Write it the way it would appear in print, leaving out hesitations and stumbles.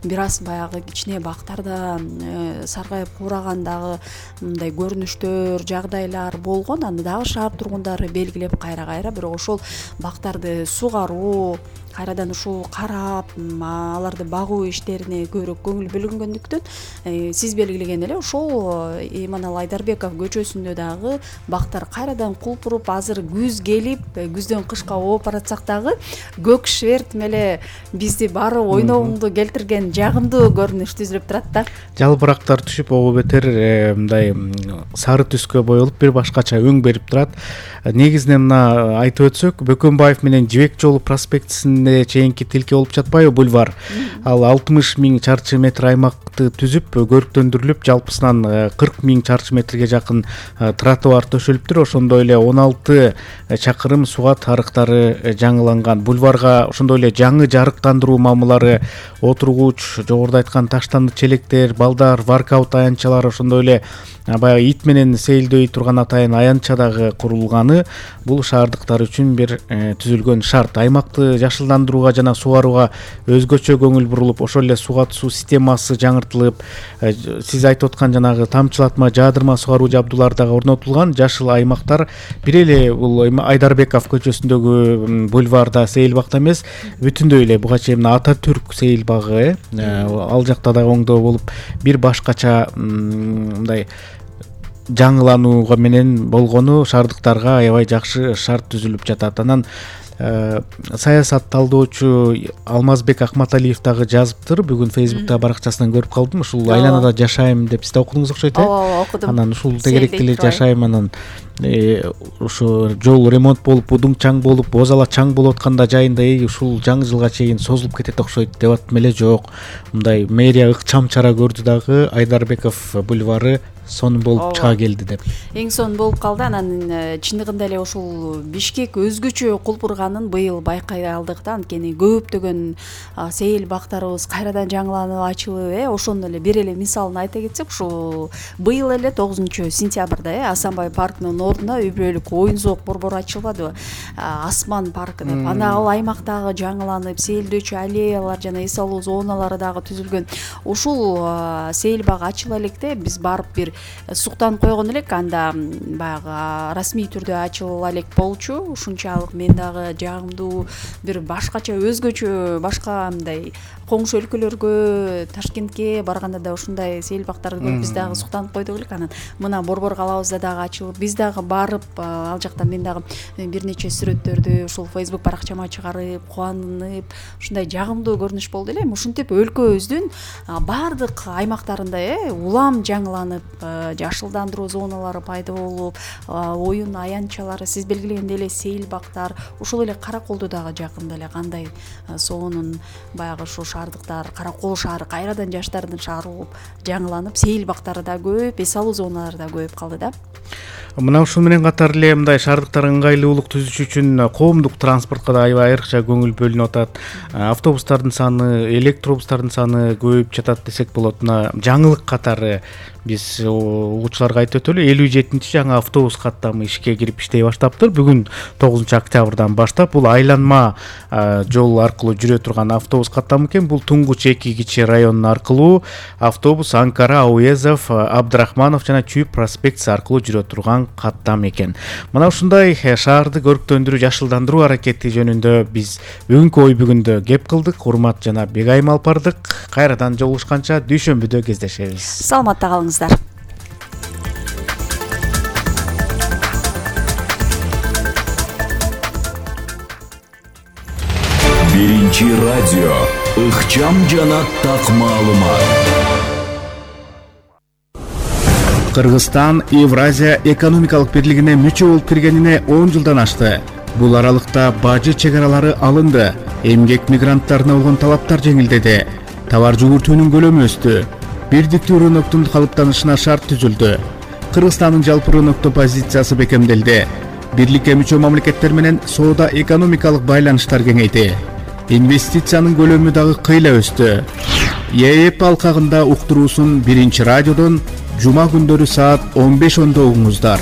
бир аз баягы кичине бактарда саргайып куурагандагы мындай көрүнүштөр, жагдайлар болгон. Аны дагы шаар тургундары белгилеп кайра бирок ошол бактарды сугаруу, кайрадан ушул карап, аларды багуу иштерине көбүрөөк көңүл бөлүнгөндүктөн сиз белгилеген эле ошол Эманал Айдарбеков көчөсүндө дагы бактар кайрадан кулпуруп, азыр күз келип, күздөн кышка ооп баратсак дагы көк шверт эле бизди баары ойноогуңду келтирген жагымдуу көрүнүш түзүлүп турат да. Жалбырактар түшүп, ого бетер мындай сары түскө боелуп, бир башкача өң берип турат. Негизинен мына айтып өтсөк, Бөкөнбаев менен Жибек жолу проспектисинде чейинки тилке болуп жатпайбы бульвар. Ал 60 000 чарчы метр аймакты түзүп, көрктөндүрүлүп, жалпысынан 40 000 чарчы метрге жакын тротуар төшөлүптүр. Ошондой эле 16 чакырым сугат арыктары жаңыланган. Бульварга ошондой эле жаңы жарыктандыруу мамылары, отургуч, жогоруда айткан таштанды челектер, балдар, воркаут аянтчалары, ошондой эле баягы ит менен сейилдөй турган атайын аянтча дагы курулганы бул шаардыктар үчүн бир түзүлгөн шарт. Аймакты жашылдандырууга жана сугарууга өзгөчө көңүл бурулуп, ошол эле сугат суу системасы жаңыртылып, сиз айтып аткан жанагы тамчылатма, жаадырма сугаруу жабдуулары дагы орнотулган. Жашыл аймактар бир эле бул Айдарбеков көчөсүндөгү бульварда сейил бакта эмес, бүтүндөй эле буга чейин Ататүрк сейил багы, ал жакта дагы оңдоо болуп, бир башкача мындай жаңыланууга менен болгону шаардыктарга аябай жакшы шарт түзүлүп жатат. Анан саясат талдоочу Алмазбек Акматалиев дагы жазыптыр. Бүгүн Facebook'та баракчасынан көрүп калдым. Ушул айланада жашайм деп сиз да окудуңуз окшойт, Ооба, окудум. Анан ушул тегеректе эле жашайм, анан ушу жол ремонт болуп, удуң чаң болуп, бозала чаң болуп атканда жайында ушул жаңы жылга чейин созулуп кетет окшойт деп аттым эле. Жок, мындай мэрия ыкчам чара көрдү дагы, Айдарбеков бульвары сонун болуп чыга келди деп. Эң сонун болуп калды. Анан чындыгында эле ушул Бишкек өзгөчө кулпурганын быйыл байкай алдык да. Анткени көптөгөн сейил бактарыбыз кайрадан жаңыланып ачылып, ошондо эле бир эле мисалын айта кетсек, ушул быйыл эле 9 сентябрда Асанбай паркынын ордуна үй бүлөлүк оюн зоок борбору ачылбадыбы? Асман паркы деп. Ана ал аймактагы жаңыланып, сейилдөөчү аллеялар жана эс алуу зоналары дагы түзүлгөн. Ушул сейил бак ачыла электе биз барып бир суктанып койгон элек. Анда баягы расмий түрдө ачыла элек болчу. Ушунчалык мен дагы жагымдуу бир башкача өзгөчө башка мындай коңшу өлкөлөргө, Ташкентке барганда да ушундай сейил бактарды көрүп биз дагы суктанып койдук элек. Анан мына борбор калабызда дагы ачылып, биз дагы барып, ал жакта мен дагы бир нече сүрөттөрдү ушул Facebook баракчама чыгарып, кубанып, ушундай жагымдуу көрүнүш болду эле. Ушинтип өлкөбүздүн баардык аймактарында улам жаңыланып, жашылдандыруу зоналары пайда болуп, оюн аянтчалары, сиз белгилегендей эле сейил бактар, ушул эле Караколдо дагы жакында эле кандай сонун баягы ушу шаардыктар, Каракол шаары кайрадан жаштардын шаары болуп жаңыланып, сейил бактары да көп, эс алуу зоналары да көбөйүп калды да. Мына ушул менен катар эле мындай шаардыктар ыңгайлуулук түзүш үчүн коомдук транспортко да аябай айрыкча көңүл бөлүнүп атат. Автобустардын саны, электробустардын саны көбөйүп жатат десек болот. Мына жаңылык катары биз угуучуларга айтып өтөлү, 57-чи жаңы автобус каттамы ишке кирип иштей баштаптыр. Бүгүн 9 октябрдан баштап бул айланма жол аркылуу жүрө турган автобус каттамы экен. Бул Туңгуч 2 кичи районун аркылуу автобус Анкара, Ауезов, Абдрахманов жана Чүйүп проспектиси аркылуу жүрө турган каттам экен. Мына ушундай шаарды көрктөндүрүү, жашылдандыруу аракети жөнүндө биз бүгүнкү ой бүгүндө кеп кылдык. Урмат жана Бегайым Алпардык. Кайрадан жолугушканча дүйшөмбүдө кездешебиз. Саламатта калыңыздар. Биринчи радио ыкчам жана так маалымат. Кыргызстан Евразия экономикалык бирлигине мүчө болуп киргенине 10 жылдан ашты. Бул аралыкта бажы чегаралары алынды, эмгек мигранттарына болгон талаптар жеңилдеди, товар жүгүртүүнүн көлөмү өстү, бирдиктүү рыноктун калыптанышына шарт түзүлдү. Кыргызстандын жалпы рынокто позициясы бекемделди. Бирликке мүчө мамлекеттер менен соода экономикалык байланыштар кеңейди. Инвестициянын көлөмү дагы кыйла өстү. ЕЭП алкагында уктуруусун Биринчи радиодон жума күндөрү саат 15:10 угуңуздар.